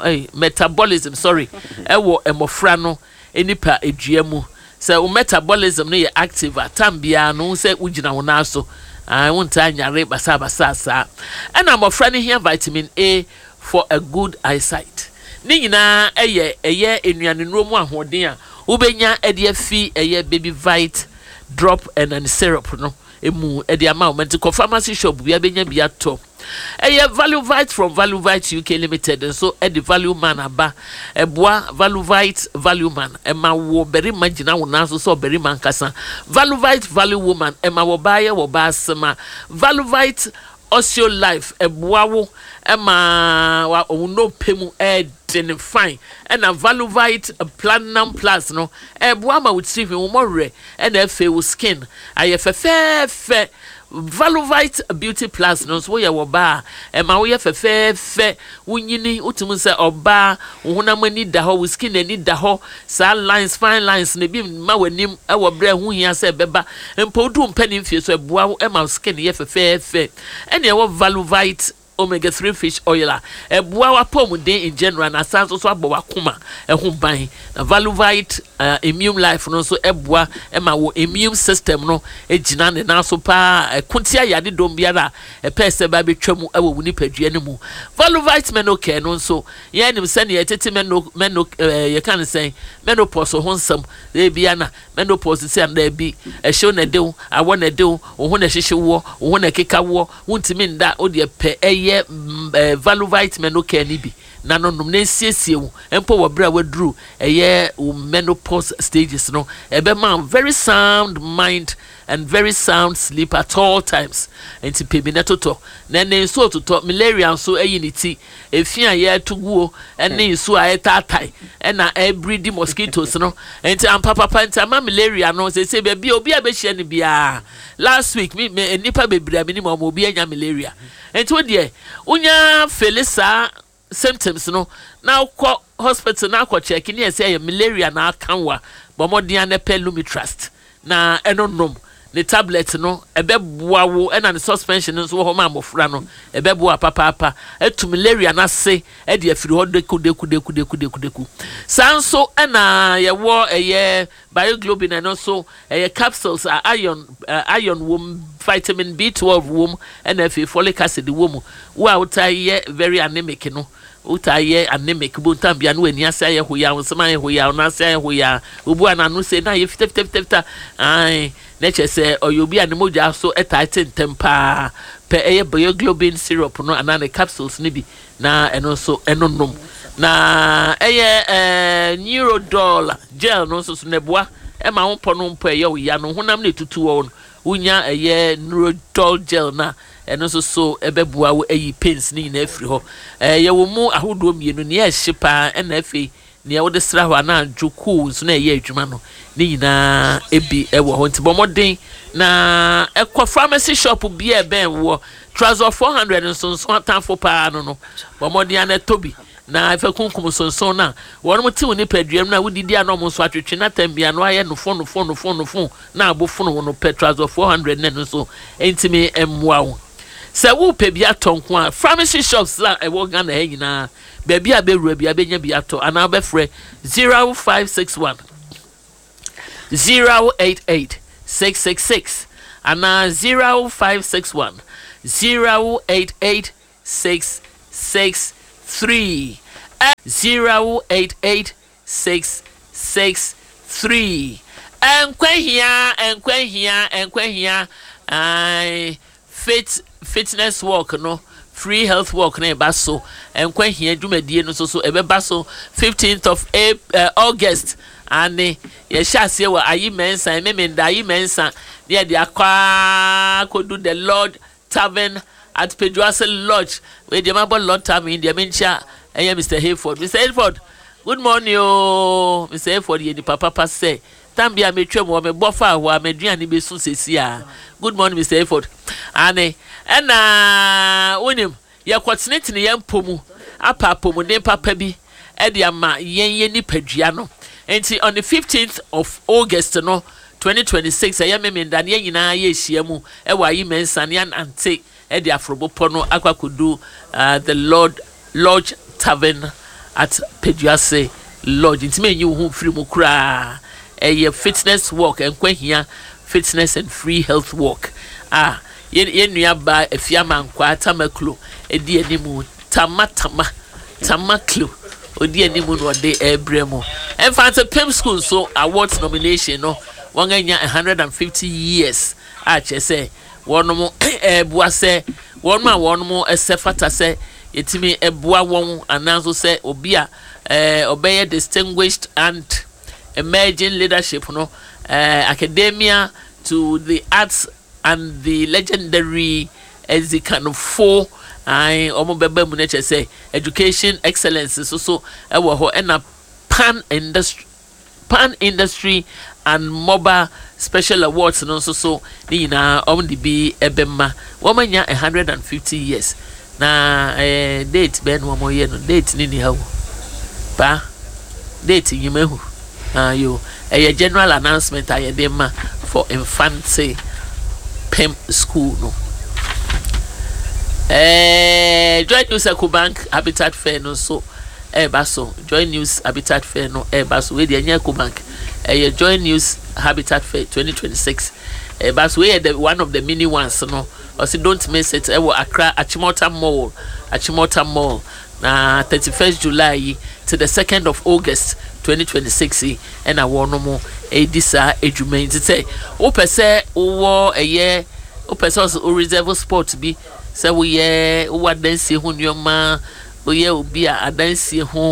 Ei, metabolism, sorry, ɛwɔ mmɔfra no nipa dua mu. Sɛ wo metabolism no yɛ active a, tam biara no, wohu sɛ wogyina wo nan so. Ae, wontaa nyare basaabasaa saa. Ɛna mmɔfra no hia vitamin A for a good eyesight. Ne nyinaa ɛyɛ ɛyɛ nnuanennuro mu ahoɔden a wobɛnya de afi ɛyɛ Baby Vite drop and syrup no mu de ama wo. Nti kɔ pharmacy shop biara bɛnya bi atɔ. Ɛyɛ Valuvite from Valuvite UK Limited nso de Value Man aba. Ɛboa Valuvite Value Man ɛma wo barima gyina wo nan so sɛ ɔbarima ankasa. Valuvite Value Woman ɛma wɔ baa yɛ wɔ baa sema. Valuvite Osteo Life ɛboa wo ɛma wo nnompe mu ɛɛdene fine. Ɛna Valuvite Platinum Plus no ɛboa ma wo tiri hwi, wo mmɔwerɛ ɛna afei wo skin ayɛ fɛfɛɛfɛ. Valovite Beauty Plus no nso woyɛ wɔ baa a, ɛma woyɛ fɛfɛɛfɛ, wonyini, wotumi hu sɛ ɔbaa, wo honam ani da hɔ, wo skin ani da hɔ, saa lines, fine lines no ebi mma w'anim wɔ berɛ a ɛho hia sɛ ɛbɛba. Mpo wodu wo mpanin mfie so, ɛboa wo ma wo skin yɛ fɛfɛɛfɛ. Ɛnna ɛwɔ Valovite Omega 3 fish oil a ɛboa w'apɔwmuden in general na asan nso so abɔ w'akoma ho ban. Na Valuvite Immune Life no nso boa ma wo immune system no gyina ne nan so paa, ɛko tia yadedɔm biara a ɛpɛɛ sɛ ɛba abɛtwa mu wɔ wo nipadua no mu. Valuvite Menocare no nso, yɛn nim sɛnea yɛtete meno, meno, eh, yɛka no sɛn, menopause ho nsɛm, ebia na menopause si anaa bi, ɛhyew na ɛde wo, awɔ na ɛde wo, wo ho na ɛhyehye woɔ, wo ho na ɛkeka woɔ, Wontumi nda wo deɛ pɛ ɛyɛ Valuvite Menocare no bi na no nom na ɛnsiesie wo mpo wɔ berɛ a waduru ɛyɛ wo menopause stages no. Ɛbɛma wo very sound mind and very sound sleep at all times. Nti pɛ bi na totɔ. Na ɛnɛ nsuo totɔ, malaria nso ayi ne ti. Efi a yɛto guo ne nsuo a ɛtaatae ɛna ɛbridi mosquitoes no. Nti ampa papa nti ama malaria no seesei baabi a obi a bɛhyia no biara Last week me me nnipa bebree a menim wɔn obi anya malaria. Nti wo deɛ wonya fele saa symptoms no na wokɔ hospital na akɔ check ne ɛsɛ ɛyɛ malaria na aka wo a, bɔ mmɔden ara na pɛ Lumitrust na ɛno nom ne tablet no, ɛbɛboa wo, ɛna ne suspension no nso wɔ hɔ ma mmɔfra no, ɛbɛboa papaapa atu malaria no ase de afiri hɔ deku deku deku deku deku deku. Saa nso ɛna yɛwɔ ɛyɛ Bioglobin ɛno nso ɛyɛ capsules a iron iron wom, vitamin B12 wom ɛna afei folic acid wɔ mu. Wo a wotaa yɛ very anemic no, wotaa yɛ anemic bu ntam bia na w'ani ase ayɛ hoyaa, wo nsam ayɛ hoyaa, wo nan ase ayɛ hoyaa, obu a n'ano sei na ayɛ fitafitafitafita, ae, na kyerɛ sɛ ɔyɛ obi a ne mogya so taa te ntɛm paa. Pɛ ɛyɛ Bioglobin syrup no anaa ne capsules no bi na ɛno nso ɛno nom. Na ɛyɛ ɛɛ Neurodol gel no nso so na ɛboa ɛma wo mpɔ no mpɔ ɛyɛ wo ya no honam no etutu wɔ no wonya ɛyɛ Neurodol gel no a ɛno nso so ɛbɛboa wo ayi pains no nyinaa afiri hɔ. Ɛɛ yɛwɔ mu ahodoɔ mmienu, nea ɛhye paa ɛna afei nea wode sra hɔ anaa adwo cool nso na ɛyɛ adwuma no ne nyinaa ebi wɔ hɔ. Nti bɔ mmɔden na ɛkɔ pharmacy shop bi a ɛbɛn woɔ. Trazol 400 nsonson atamfo paa no no, bɔ mmɔden ara na tɔ bi na fa kunkum nsonson no a wɔn te wo nipadua mu na wodidi a na wɔn nso atwetwe na tam bi ano ayɛ nofo nofo nofo nofo na abo fono wo no. Pɛ Trazol 400 na ɛno nso ntumi mmoa wo. Sɛ wopɛ bi atɔ nko a, pharmacy shops a ɛwɔ Ghana ha nyinaa, baabi a bɛwura biara bɛnya bi atɔ anaa wobɛfrɛ 0561 088 666 anaa 0561 088 663 088 663. Nkwa hia, nkwa hia, nkwa hia, ae, Fit fitness walk no, free health walk no reba so. Nkwa hia dwumadie no nso so ɛbɛba so 15th of April, August. Ane, yɛhyɛ aseɛ wɔ Ayi Mɛnsa, Memenda Ayi Mɛnsa, ne yɛde akɔ ara kɔdu The Lord Tavern at Peduase Lodge. Wei deɛ mabɔ Lord Tavern yi deɛ menkyia ɛyɛ Mister Hayford. Mister Hayford, good morning oo. Mister Hayford yɛ nipa papa sɛ. Tam bi a metwam hɔ, mebɔ faa hɔ a, m'aduane bɛsu seesei ara. Good morning, Mister Hayford. Aane, ɛna wonim, yɛkɔtenetene yɛn mpɔ mu apɛ apɔmuden papa bi de ama yɛn yɛn nipadua no. Enti on the 15th of August no, 2026, ɛyɛ Memenda no, yɛn nyinaa yɛrehyia mu wɔ Ayi Mensah na yɛanante de aforo bepɔ no akɔ akɔdu The Lord Lodge Tavern. At Peduase Lodge. Ntumi enyi wo ho mfiri mu koraa. Ɛyɛ fitness walk, Nkwahia fitness and free health walk a yɛn nua baa Afiamankwaa Tamaklo edi anim. Tama Tama Tamaklo odi anim na ɔde ɛrebrɛ mu. Mfantsipim School nso awards nomination no, wɔn anya 150 years a kyerɛ sɛ wɔn ɛreboa sɛ wɔn a wɔn ɛsɛ fata sɛ yɛtumi ɛboa wɔn, anaa nso sɛ obi a ɔbɛyɛ distinguished and emerging leadership no, academia to the arts and the legendary Ezikanfo ayi, wɔn bɛba mu no. Kyerɛ sɛ education excellence nso so ɛwɔ hɔ, ɛna pan industry and mobile special awards no nso so ne nyinaa wɔn de bi ɛbɛma. Wɔn anya 150 years na date bɛn na wɔn yɛ no? Date ne ni ha o, paa date nyima ehu ayo. Ɛyɛ general announcement a yɛde ma for Mfantsipim School no. Joy News Ecobank Habitat Fair no nso ɛreba so. Joy News Habitat Fair no ɛreba so. Wei deɛ, ɛnyɛ Ecobank, ɛyɛ Joy News Habitat Fair 2026 ɛreba so. Wei yɛ the one of the mini ones no. Ɔsi don't miss it. Ɛwɔ Accra Achimota Mall, Achimota Mall, na 31st July yi to the 2nd of August 2026 yi ɛna wɔn mo ɛredi saa edwuma yi. Nti sɛ wopɛ sɛ wowɔ ɛyɛ wopɛ sɛ o reserve spot bi sɛ woyɛ wowɔ adansie ho nneɛma, woyɛ obi a adansie ho.